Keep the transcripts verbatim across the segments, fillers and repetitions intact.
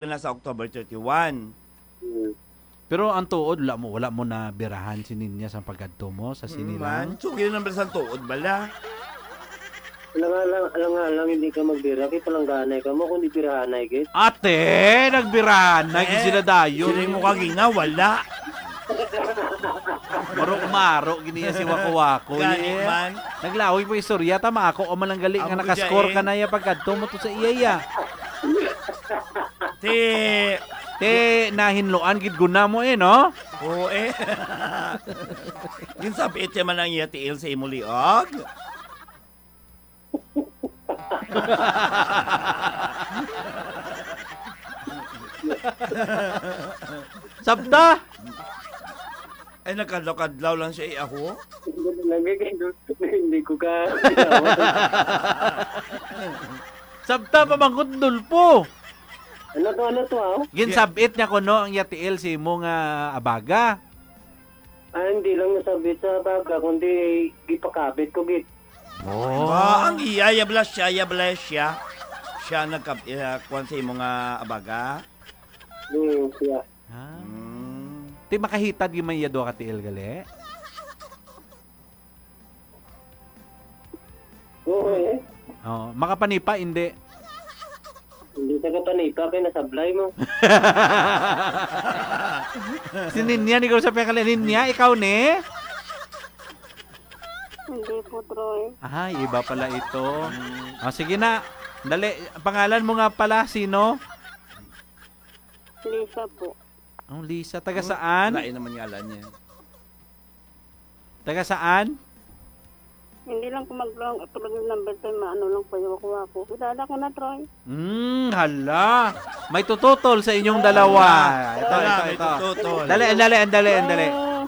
na sa October thirty-one. Hmm. Pero ang tuod, wala mo, wala mo na birahan si Ninya sa pagkadto mo sa Mm, sinilang? Man. So, yun ang bala sa tuod, bala. Alang-alang, alang-alang, hindi ka magbira, kay palangganay ka mo, kung di birahanay, gid. Ate, nagbirahanay, gid Eh, sila dayon. Sila mo kagina, wala. Marok-marok, giniya si Wako-Wako, Gani eh. Man. Naglahoy po istorya, tama ako, o man ang gali nga Amo ko nakaskor siya, eh. Ka na ya pagkadto mo to sa iya, ya. Ti, Ti, nahinloan gid guna mo eh, no? Oo, eh. Ginsabit siya man ang iya tiil sa imo liog. Sabta? Ay, nagkadlaw-kadlaw lang siya, eh, aho. Lagi kayo, hindi ko ka. Sabta pa man ko, Dulpo. Ano to, ano to, ah? Ginsabit niya kuno ang yatiil si imo nga abaga. Ah, hindi lang nasabit sa abaga, kundi gipakabit ko, git. Oh. Ah, ang iya, ya bala siya, ya bala siya. Siya nagkab-, eh, kuwan sa imo nga abaga? Hmm, siya. Ah. Mm. Ti makahitad gyud man iya duha ka tiil gali? Oo, eh. Oh, makapanipa, hindi. Hindi sa kapanipa, kay nasablay mo. Si Ninya, ni ko sa pekala, Ninya, ikaw ni? Hindi po, Troy. Ay, iba pala ito. Mm. Ah, sige na. Dali, pangalan mo nga pala, sino? Lisa po. Ang Lisa, taga Hmm? saan? Lain naman ngalan niya. Taga saan? Hindi lang ko mag-, tulog ng number ko, maano lang po yung ako-ako. Kilala ko na, Troy. Hmm, hala. May tututol sa inyong dalawa. Ito, Wala, ito, may ito. tututol. Dali, dali, dali, dali. May,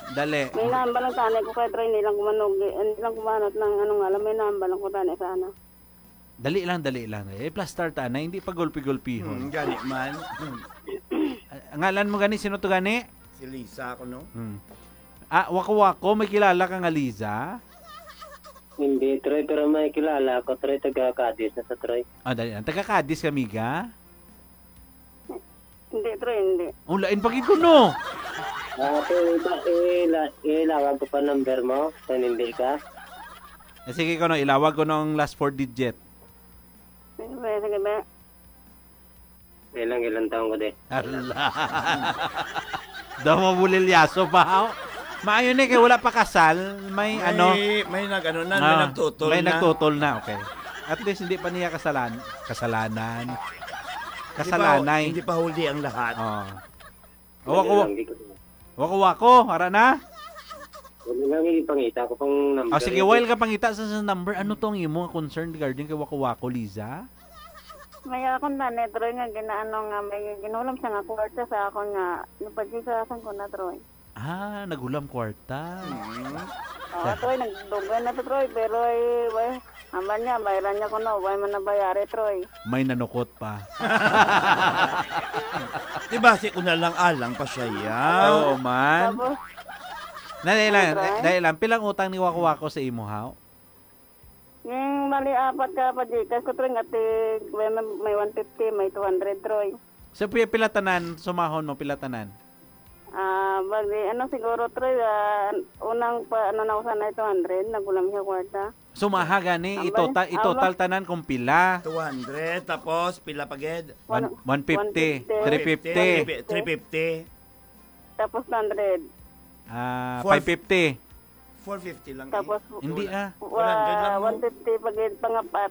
Dali. May namba lang sana ko kay Troy, hindi lang kumanog, hindi lang kumanot ng ano nga lang, may namba lang ko tani sana. Dali lang, dali lang. Eh, plastar ta na, hindi pa gulpi-gulpihon. Hmm, gani man. Ah, ngalan mo gani, sino to gani? Si Lisa ako, no? Hmm. Ah, wako-wako, may kilala ka nga Liza? Hindi, Troy, pero may kilala ako, Troy, taga Cadiz na sa Troy. Ah, dali lang. Taga Cadiz ka, miga? Hindi, Troy, hindi. Oh, lain pa gid ko, no? Ah, Troy, iba, ila-, ilawag ko pa number mo, kung hindi ka. Eh, sige ko, no, ilawag ko no ang last four digit. Sige ba, sige ba? Ilang, ilang taon ko, di? Ala. Daw mabulilyaso pa, oh. Maayo ni kay wala pa kasal, may May, ano, may nag-ano na, may ah, nagtutol may na. nagtutol na, okay. At least hindi pa niya kasalan-, kasalanan. Hindi pa, Kasalanay. hindi pa huli ang lahat. Oh. Wala Wako, lang, di ko wako, wako, ara na? Wala lang, ipangita ko pang number. Ah, sige, while ka pangita sa, sa number, ano tong imo nga concern regarding kay wako, wako, Liza? May akon na ni Troy nga ginaano nga may ginulam siya nga kwarta sa akon nga napagsisasan ko na, Troy. Ah, nagulam kwarta. Mm. Oo, Troy, nagdugay na to, Troy, pero, eh, way, aman niya, bayaran niya ko, no, way man nabayari, Troy. May nanukot pa. Di ba, si una lang alang pa siya, ya? Oo, man. Tapos, Dali lang, Ano, Troy? dali lang. Pilang utang ni Wako Wako sa imo, haw? Yung bali, apat ka pa Gcash ko, Troy, nga tig-, may, may one fifty, may two hundred, Troy. So, pi-, pila tanan, sumahon mo, pila tanan? Ah, bali, ano siguro, Troy, ah, unang pa, ano na usan na two hundred, nagulam siya kwarta. Sumaha gani, Ang itotal, bali, itotal ang tanan kung pila? Two hundred, tapos pila pa gid? One, One, one fifty, one fifty. Three fifty. Three fifty. Tapos two hundred. Ah, Four five fifty. Four fifty lang, eh. Tapos, Hindi, Wala. ah. One hundred lang, wa-, no? one fifty pag-, pangapat.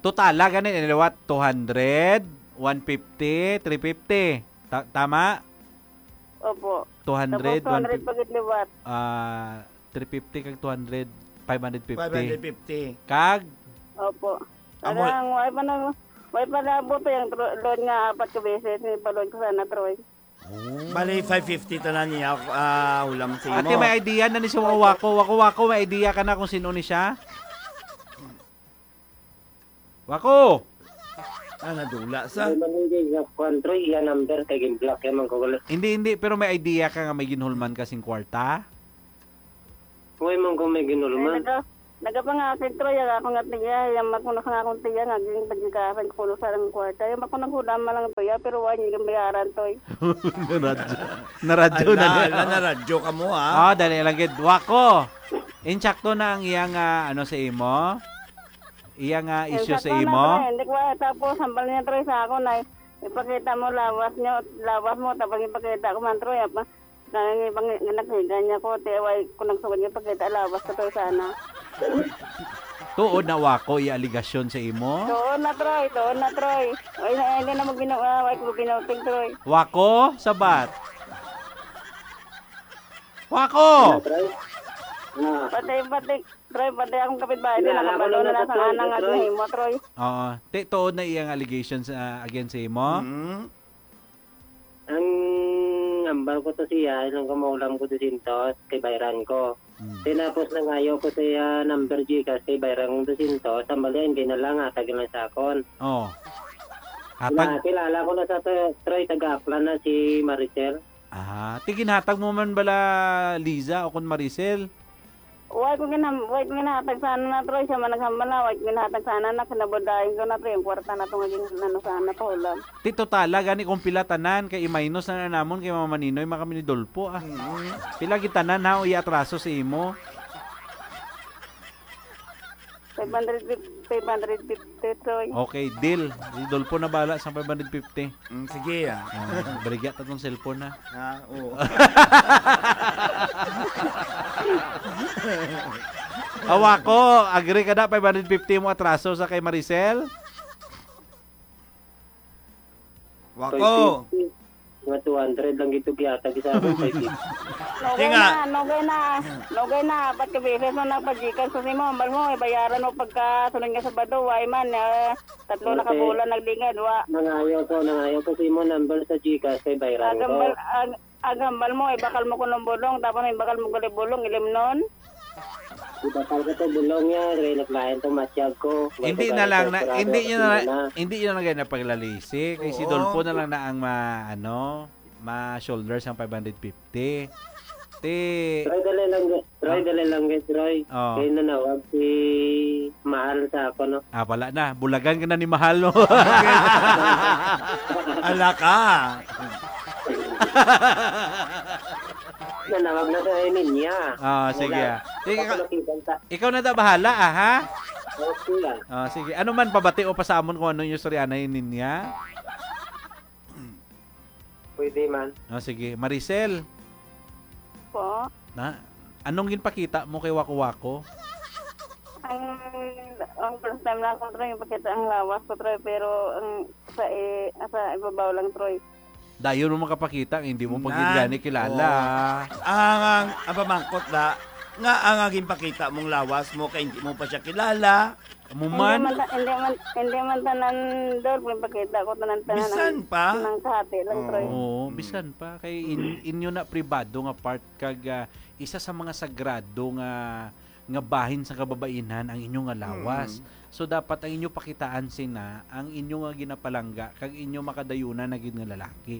Totala gani, liwat, two hundred, one fifty, three fifty. Ta-, tama? Opo. Two hundred, Tapos two hundred one fifty. Pag-, liwat. Ah, three fifty kag two hundred, five hundred fifty. Five hundred fifty. Kag? Opo. Amo- Parang, way pa na, way pa na buto yung tro-, loan nga apat ka beses, may pa-loan ko sana, Troy. Oh. Bali, five fifty tanan niya, ah, ulam sa Ate, imo. May idea na ni si Wako Wako. Wako Wako, may idea ka na kung sino ni siya? Wako! Ah, nadula sa Hindi man hindi nga kuwan, Troy, iya number kay gin-block, kaya man ko gulo. Hindi, hindi, pero may idea ka nga may ginhulman ka sing kwarta? Way man ko may ginhulman. Ay, naka-, Nagapangakit, Troy, ang ako nga tiya, yung makuno sa akong tiya, nga ginpagikasan ko kuno sa ang kwarta. Yung ako naghulama lang, Troy, ah, pero wala niya yung bayaran, Troy. Naradyo. Naradyo na Ala, niya. Ala, naradyo ka mo, ha? Ah, dali lang gid. Wako. Insakto na ang iyang, ah, ano sa imo? Iyang, ah, Yung issue sa sakto na, imo? Troy, hindi ko, ah, tapos, hambal niya, Troy, sa ako na, ipakita mo, lawas niyo, lawas mo, tapos ipakita ko man, Troy, apa, Nangangibang nga naghiga niya ko, ti away ko nagsugod nga pakita, lawas ko to sana. Tuod na wako iya aligasyon sa imo? Tuod na, Troy. Tuod na, Troy. Ay, na, hindi na magbinuwa. Ay, ko binuting, Troy. Wako, sabat. Wako! Ano, Troy? Ah. Pati, pati, Troy, pati akong kapitbahay, Wala, nakabalo wala na na sa sa Troy, anang Troy. At nahimo, Troy. Oo. Ti, tuod na iyang allegations, ah, against sa imo? Mm. Ang hambal ko to siya, nung kumaulam ko dusyentos, kay bayran ko. Mm. Tinapos nangayo ko siya number Gcash kay bayran kong dusyentos, ang balian kay na lang, hatag lang sa akon. Oh. Hatag? Kila-, kilala ko na sa to, Troy, taga Aklan na si Maricel. Ah, ti ginhatag mo man bala, Liza, o kon Maricel? Way ko ginham-, way ko ginhatag sana na, Troy. Siya man naghambal na, way ko ginhatag sana na, kinabudayan ko na, Troy. Ang kwarta na to nga gin-, ano sana, pahulam. Ti totala, gani kung pila tanan, kay i-minus na, na namon, kay Mama Ninoy, man kami ni Dolpo, ah. Mm. Pila gid tanan, ha, o i-atraso sa imo? Five hundred fifty, five hundred fifty, Troy. Okay, deal. Si Dolpo na bala sa five hundred fifty. Mm, sige, ah. Ah, baligya ta tong cellphone, ha? Ah, oo. Awa ko, agree ka na, five hundred fifty mo atraso sa kay Maricel? Wako. Five fifty. Mga two hundred lang gito gihatag sa akon, five fifty. Nugay Tinga. Na, nugay na. Nugay na, apat ka beses na nagpa-Gcash ko sa imo. Hambal mo, ibayaran mo pagka sunod nga Sabado. Way man, eh, tatlo na ka Okay. bulan nagdingid, wa. Nangayo ko, nangayo ko sa imo number sa Gcash kay bayran ko. Agambal, ag-, agambal mo, ibakal mo kunong bulong, tapos ibakal mo gali bulong, ilimnon. Ibakal ko to bulong niya, kay naglain to matyag ko. Hindi na lang na, hindi yun na, hindi yun na kayo na paglalisi. Kay si Oo. Dolpo na lang na ang ma-, ano, ma-shoulder sang five hundred fifty. Ti Troy, dali lang, Troy, Ah. dali lang, Troy. Oh. Kay nanawag si Mahal sa ako, no? Ah, wala na. Bulagan ka na ni Mahal, no? Ala ka. Nanawag na sa niya. Ah, sige, Wala. ah. Sige, ikaw, Kapalakitan sa ikaw na daw bahala, ah, ha? Okay, ah. Ah, sige. Ano man, pabati o pa sa amon kung ano yung istorya na yun niya? Pwede man. Ah, sige. Maricel. Po? Na, anong ginpakita mo kay Wako Wako? Ang, ang first time na ako, Troy, ipakita ang lawas ko, Troy, pero ang sa i-, sa ibabaw lang, Troy. Dayon mo makapakita, hindi mo pa gid Nan. gani kilala. Oo. Ang, ang, ang pamangkot na, nga ang, ang ginpakita mong lawas mo kay hindi mo pa siya kilala. Amo Hindi man. man ta-, hindi man, hindi man tanan, Dol, ipakita ko tanan, tanan Bisan ang, pa? ang kahati lang, Troy. Oo, Mm. bisan pa. Kay in-, inyo na pribado nga part kag, ah, isa sa mga sagrado nga, nga bahin sa kababainan ang inyo nga lawas. Mm. So, dapat ang inyo pakitaan sina ang inyo nga ginapalangga kag inyo makadayunan na gid nga lalaki.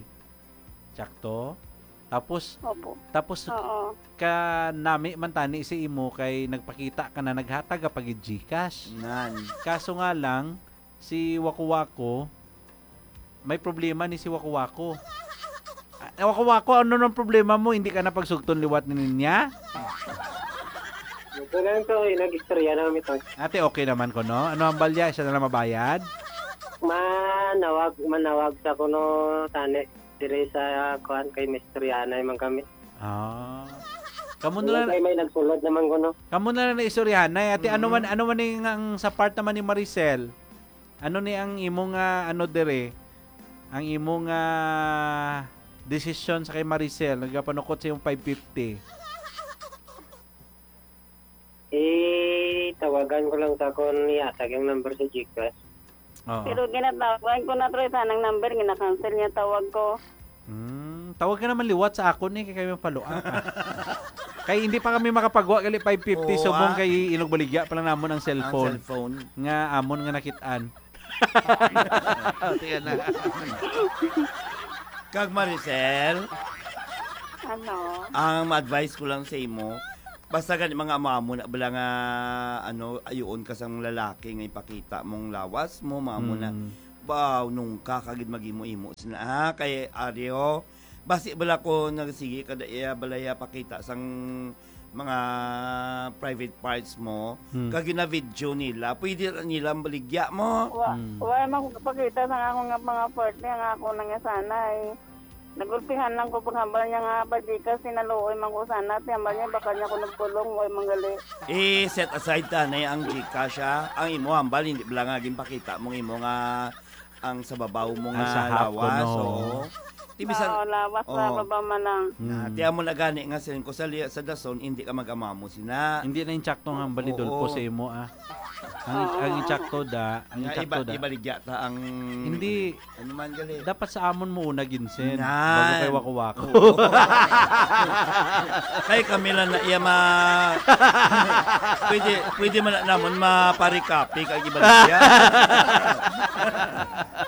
Sakto? Tapos, Opo. tapos Oo. ka nami man tani si imo kay nagpakita ka na naghatag ka pa gid Gcash. Nan. Kaso nga lang, si Wako Wako, may problema ni si Wako Wako. Ah, Wako Wako, ano nang problema mo? Hindi ka na pagsugton liwat ni niya? Ito lang to, eh, nag-istorya na kami to. Ate, okay naman ko, no? Ano ang balya? Siya na lang mabayad? Manawag, manawag sa kuno, tani. Dire sa, kuan, kay Mister Yanay man kami. Ah. Kamo na Wala lang, kay may nagsulod naman kuno. kamo na lang na istoryahanay. Ate, ano Mm. man, ano man yung ang sa part naman ni Maricel? Ano ni ang imo nga, ano, dire? Ang imo nga desisyon sa kay Maricel, nagapanukot sa imong five fifty? Eh, tawagan ko lang sa akon, ihatag yung number sa Gcash. Oo. Pero ginatawagan ko na, Troy, sa nang number, gina-cancel niya tawag ko. Hmm, tawag ka naman liwat sa akon eh, kay kami mapaluan ka. Kay hindi pa kami makapagwa gali five fifty Oo, subong ah. kay inugbaligya pa lang namon ang Ang cellphone. cellphone. Nga amon nga nakit-an. Tingnan na. Kag Maricel, Ano? ang ma-advise ko lang sa imo, Basta gani, mga amo-amo na bala nga, ano, ayuon ka sang lalaki nga ipakita mong lawas mo, mga amo na, Mm. "Baw, nungka ka gid mag-imo-imo sina, ha?" Kay ari, oh, basi bala ko nagsige kada iya balaya pakita sang mga private parts mo, Hmm. kag gina-video nila, pwede ra nila baligya mo. Wa, Hmm. wa man ko kapakita sa akon nga mga partner nga ako na nga sana, eh. Nagulpihan lang ko paghambal niya nga pa Gcash, sinaluoy man ko sana, ti hambal niya baka niya ko nagpulong, way manggali. I-set aside ta na ang Gcash, ha. Ang imo hambal, hindi bala nga ginpakita mong imo nga ang sa babaw mo Ang nga sa half ko, lawas, no. Oo. Ti bisan Oo, lawas sa oo. Babaw man lang. Na, Hmm. ti amo na gani nga siling ko sa liya, sa dason, hindi ka mag-amamo sina. Hindi na intsakto nga hambal ni Oo. Dulpo sa imo, ah. Ang, Oo. ang intsakto da, ang Nga intsakto iba, da. Ibaligya ta ang Hindi. Ano man gali? Dapat sa amon mo una ginsend. Nan. Bago kay wako-wako. Oo. Kay kami lang na iya ma-, pwede, pwede man na namon maparikapi kag ibaligya.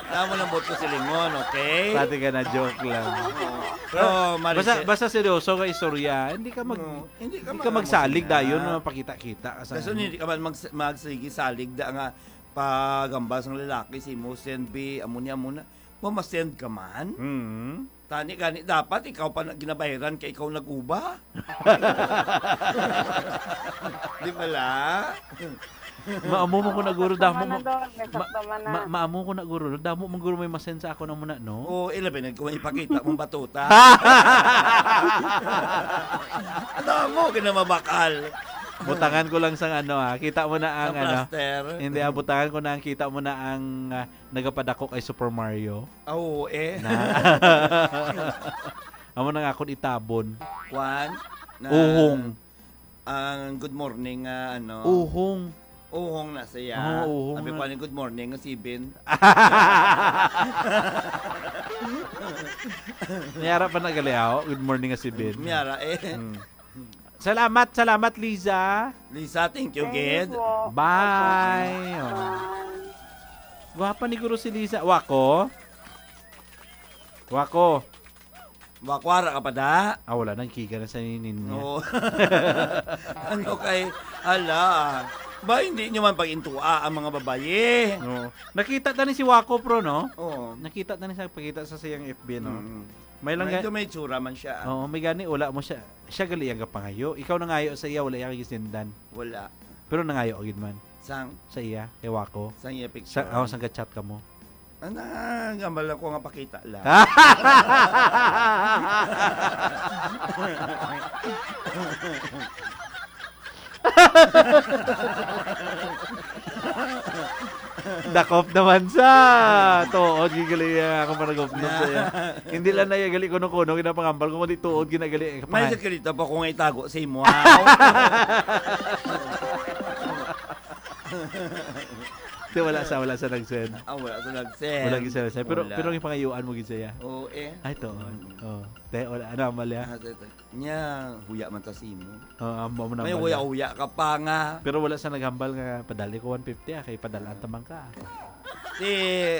Namo lang buot ko silingon, okay? Pati ka na, joke lang. Oo. Pero, Basta, Maricel, basta seryoso nga istorya, hindi ka mag-, No, hindi ka hindi ka mag-, magsalig ano dayon, na. Mapakita-kita ka sa Kaso ano. Hindi ka man mag-, magsige salig da nga pagambal sang lalaki si mo, send bi, amo ni, amo na. Mamasend ka man? Mm. Tani gani, dapat ikaw pa na ginabayaran kay ikaw nag-uba. Di bala? Maamo mo ko na, guro, Sakto damo man na mo. Doon, may Ma-, sakto man na. Ma-, maamo ko na, guro, damo mo, guro, may masend sa ako na muna, no? Oo, ilabi na kung ipakita mong batuta. Ano mo, kinamabakal. Butangan ko lang sang ano, ah. Kita mo na ang Ang ano. Plaster. Hindi, ah, butangan ko na ang kita mo na ang, ah, nagapadako kay Super Mario. Ah, oo, eh. Na. Amo na nga akong itabon. Kwan? Na Uhong. Ang good morning nga, ano? Uhong. Uhong na siya. Oo, uhong Sabi na. Ko, "Ano, good morning," nga si Ben. Miyara pa na gali, ah. Good morning nga si Ben. Miyara, eh. Hmm. Salamat, salamat, Liza. Lisa, thank you, Thank you gid. Po. Bye. Opo. Oh. Bye. Gwapa ni Guro si Liza. Wako? Wako. Wakwara ka pa da? Ah, wala nang kiga na sa ninin niya. Oo. Ano kay, hala. Ba, hindi nyo man pag-intua ang mga babayi. Oo. Nakita ta ni si Wako, pro, no? Oo. Nakita ta ni sa pagkita sa siyang F B, no? Mm. May lang Medyo ga- may tsura man siya, ah. Oo, may gani, wala mo siya. Siya gali ang kapangayo. Ikaw nangayo sa iya, wala iya kagisindan. Wala. Pero nangayo ka gid man. Sang? Sa iya, kay Wako. Sang iya picture. Sa, oh, sang ka-chat ka mo. Ana, gambal ako nga pakita lang. Dakop naman sa tuod, gigali, ah, ako managop-nop sa iya. Hindi lang na iya gali kuno-kuno ginapangambal ko, kundi tuod ginagali. May Kapangay. Sekreto pa ko nga itago sa imo, ha? Di, wala sa, wala sa nag-send. Ah, wala sa nag-send. Wala gid sa nag-send. Pero, Wala. Pero yung pangayuan mo gid sa iya. Oo, eh. Ay, to. Mm. Oh. Te, wala. Ano, Amalia? Ah, te, te. Nya, huya man ta sa imo. Oh, amo mo na May ba huya-huya ka pa nga. Pero wala sa naghambal nga, "Padali ko one fifty, ah, kay padalaan ta man ka." Di,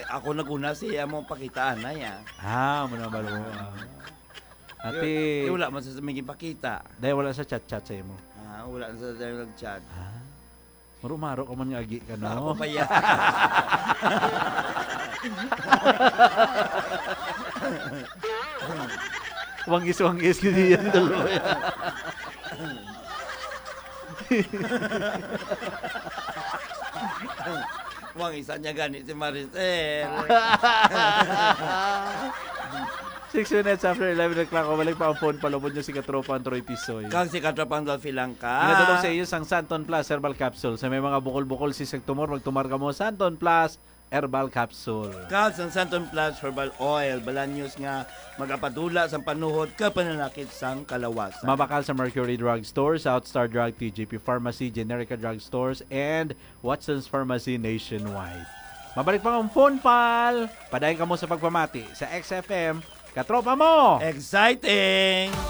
ako naguna siya mo pakitaan na ya. Ah, mo na ba mo? Ah. Ati, Di, di wala man sa may gipakita. Dahil wala sa chat-chat sa imo. Ah, wala sa, sa nag-chat. Ah. Maro-maro ka man nga agi ka, no? Ako pa yan. Wangis-wangis gid yan, dalawa yan. Wangis niya gani si Maricel. Six minutes after eleven o'clock, balik pa ang phone, palubod niyo si Katropang Troy Tisoy. Kag si Katropang Dolphy Langka. Pinadulong sa iyo sang Santon Plus Herbal Capsule. Sa may mga bukol-bukol, sisig, tumor, magtumar ka mo, Santon Plus Herbal Capsule. Kag sang Santon Plus Herbal Oil, balaan niyo nga magapadula sang panuhot kag pananakit sang kalawasan. Mabakal sa Mercury Drug Store, South Star Drug, T G P Pharmacy, Generica Drug Stores, and Watson's Pharmacy nationwide. Mabalik pa ang phone, pal. Padayon kamo sa pagpamati sa X F M. Katropa mo! Exciting!